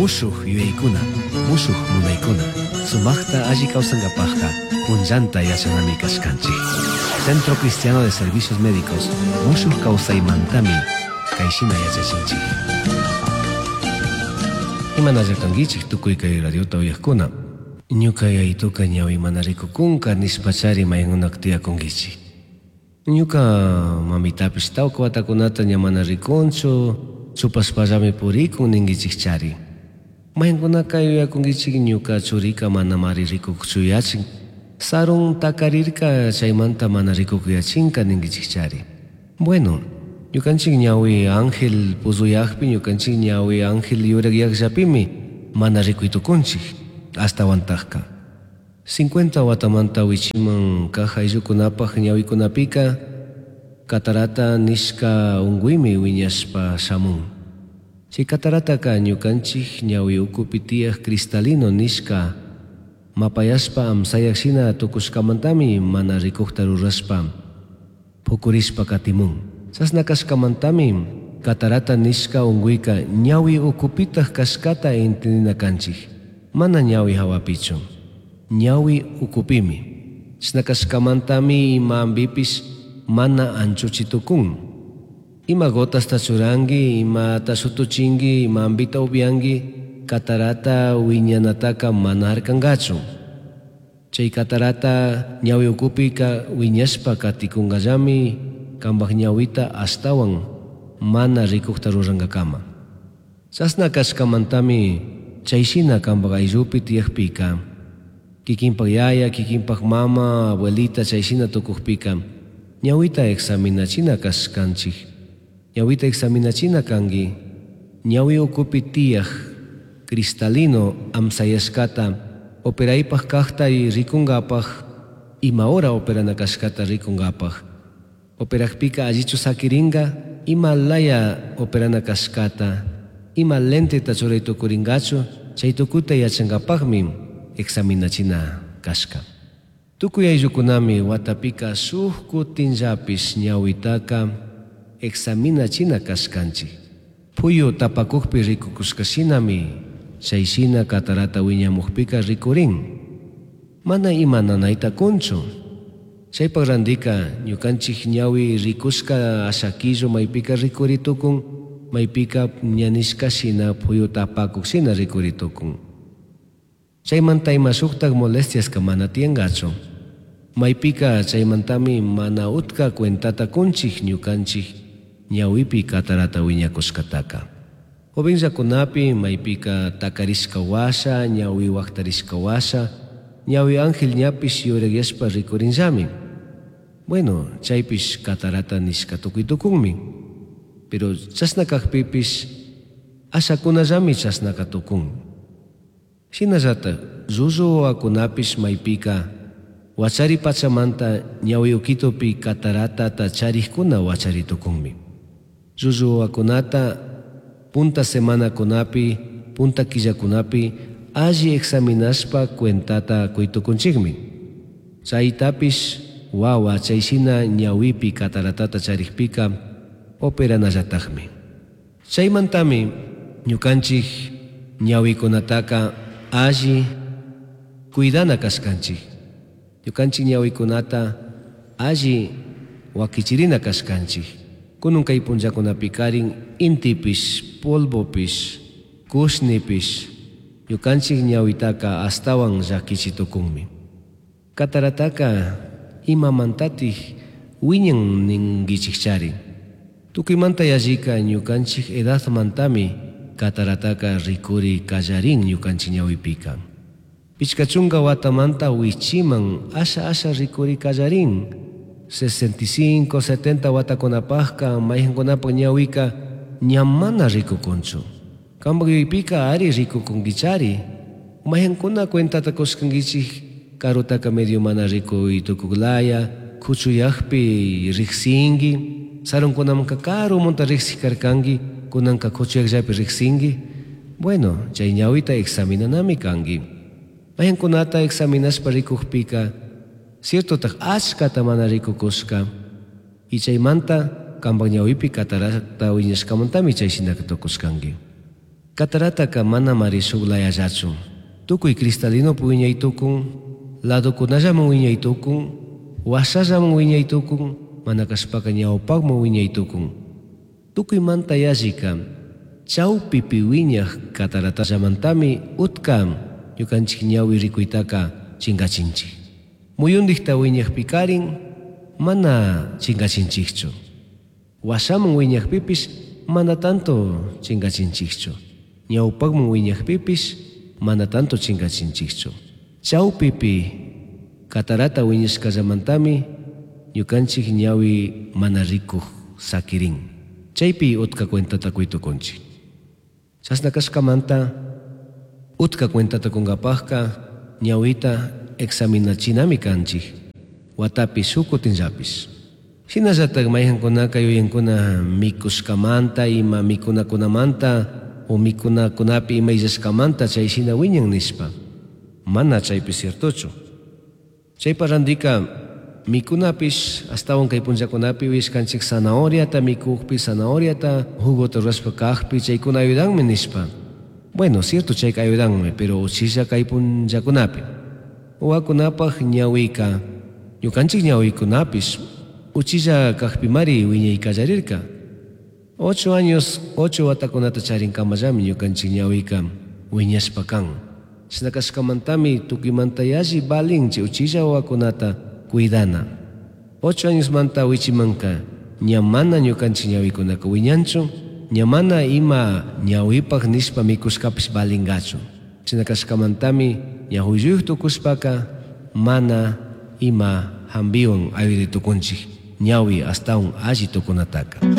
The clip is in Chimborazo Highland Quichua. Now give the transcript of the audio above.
Mushuj yuyaicuna, mushuj munaicuna, sumajta alli kawsankapajka punllanta yachanami kashkanchik. Centro Cristiano de Servicios Médicos mushuj kawsaymantami kayshina yachachinchik. Imanalla kankichik tukuy kay radiota uyajkuna. Ñuka yayituka ñawi mana rikukunka nishpachari maykunak tiyakunkichik. Ñuka mamitapish tawka watakunata ña mana rikunchu, chupashpallami purikun ninkichikchari. Maykunaka yuyakunkichik ñuka churika manamari rikukchu yachin, sarun takarirka chaymanta mana rikukuyachinka ninkichikchari. Bueno, ñukanchik ñawi ángel puzuyakpi, ñukanchik ñawi ángel yurakyakllapimi mana rikuy tukunchik, ashtawantakka. 50 watamanta wichiman kaq ayllukunapaq ñawikunapika catarata nishka unquymi wiñashpa shamun. Chay catarataka ñukanchik ñawi ukupi tiyaq cristalino nishka mapayashpa amsayak shina tukushkamantami mana rikukta rurashpa pukurishpa katimun. Chashna kashkamantami catarata nishka unquyka ñawi ukupitaq kashkata entendina kanchik, mana ñawi hawapichu. Ñawi ukupimi. Chashna kashkamantami ima ambipish mana anchuchi tukun. Ima gotasta churanki, imata shutuchinki, ima ambita upyanki, catarata wiñanataka mana harkankachu. Chay catarata ñawi ukupika wiñashpa katikunkallami kanpak ñawita ashtawan mana rikukta rurankakama. Chashna kashkamantami chayshina kanpak ayllupi tiyakpika, kikinpak yaya, kikinpak mama, abuelita chayshina tukukpika, ñawita examinachina kashkanchik. Ñawita examinachina kanki, ñawi ukupi tiyak cristalino amsayashkata operaypaj kaqta rikunkapaj, ima hora operana kashkata rikunkapaj. Operakpika allichu sakirinka, ima laya operana kashkata, ima lenteta churay tukurinkachu, chay tukuyta yachankapajmi examinachina kashka. Tukuy ayllukunami watapika shuk kutinllapish ñawitaka examinachina kashkanchik. Puyu tapakukpi rikukushkashinami chayshina catarata wiñamukpika rikurin. Mana ima nanayta kunchu. Chaypak randika ñukanchik ñawi rikushka ashakillo maypika rikuri tukun, maypika ñanishka shina puyu tapakuk shina rikuri tukun. Chaymanta ima shuktak molestiaska mana tiyankachu. Maypika chaymantami mana utka cuentata kunchik ñukanchik ñawipi catarata wiñakushkataka. Jovenllakunapi maypika takarishka washa, ñawi waktarishka washa, ñawi ángel ñapish yurakyashpa rikurinllami. Bueno, chaypish catarata nishka tukuy tukunmi. Pero chashna kakpipish ashakunallami chashnaka tukun. Shinallatak llullu wawakunapish maypika wachari pachamanta ñawi ukitupi cataratata charikkuna wachari tukunmi. Llullu wawakunata punta semanakunapi, punta killakunapi alli examinashpa cuentata kuy tukunchikmi. Chaytapish wawa chayshina ñawipi cataratata charikpika operanallatakmi. Chaymantami ñukanchik ñawikunataka alli cuidana kashkanchik. Ñukanchik ñawikunata alli wakichirina kashkanchik. Kunun kay punllakunapikarin intipish, polvopish, kushnipish ñukanchik ñawitaka ashtawan llakichi tukunmi. Catarataka imamantatik wiñan ninkichikchari. Tukuymanta yallika ñukanchik edadmantami catarataka rikuri kallarin ñukanchik ñawipika. 50 watamanta wichiman asha asha rikuri kallarin. 65, 70 watakunapajka mayqinkunapak ñawika ña mana rikukunchu. Kanpak yuyaypika ari rikukunkichari. Mayqinkuna cuentata kushkankichik karutaka medio mana rikuy tukuklaya, kuchuyakpi riksinki, sarunkunamanka karumunta riksik karkanki, kunanka kuchuyakllapi riksinki. Bueno, chay ñawita examinanami kanki. Mayqinkunata examinashpa rikukpika, ciertotak achkata mana rikukushka, y chaymanta kanpak ñawipi catarata wiñashkamantami chayshinaka tukushkanki. Catarataka manamari shuk layallachu. Tukuy cristalinopi wiñay tukun, ladokunallaman wiñay tukun, washallaman wiñay tukun, mana kashpaka ñawpakman wiñay tukun. Tukuymanta yallika chawpipi wiñaj cataratallamantami utka ñukanchik ñawi rikuytaka chinkachinchik. Muyundikta wiñajpikarin mana chinkachinchikchu. Washaman wiñajpipish mana tanto chinkachinchikchu. Ñawpakman wiñajpipish mana tanto chinkachinchikchu. Chawpipi catarata wiñashkallamantami ñukanchik ñawi mana rikuj sakirin. Chaypi utka cuentata quy tukunchik. Chashna kashkamanta utka cuentata kunkapajka ñawita examinachinami kanchik. Watapi shuk kutinllapish. Shinallatak mayqankunaka yuyankuna mikushkamanta ima mikunakunamanta o mikunakunapi ima illashkamanta chay shina wiñan nishpa. Mana chaypi ciertochu. Chaypa randika mikunapish astawan kay punllakunapi uyashkanchik zanahoriata mikukpi, zanahoriata jugota rurashpa kajpi chaykuna ayudanmi nishpa. Bueno, cierto chayka ayudanmi, pero uchilla kay punllakunapi. Wawakunapaj ñawika, ñukanchik ñawikunapish uchilla kajpimari wiñay kallarirka. 8 años, 8 watakunata charinkamallami ñukanchik ñawika wiñashpa kan. Chashna kashkamantami tukuymanta yalli valin chay uchilla wawakunata cuidana. 8 añosmanta wichimanka ña mana ñukanchik ñawikunaka wiñanchu, ña mana ima ñawipaj nishpa mikushkapish valingachu. Chashna kashkamantami ñahuilluyuk tukushpaka mana ima hambiwan ayuday tukunchik ñawi astawan alli tukunataka.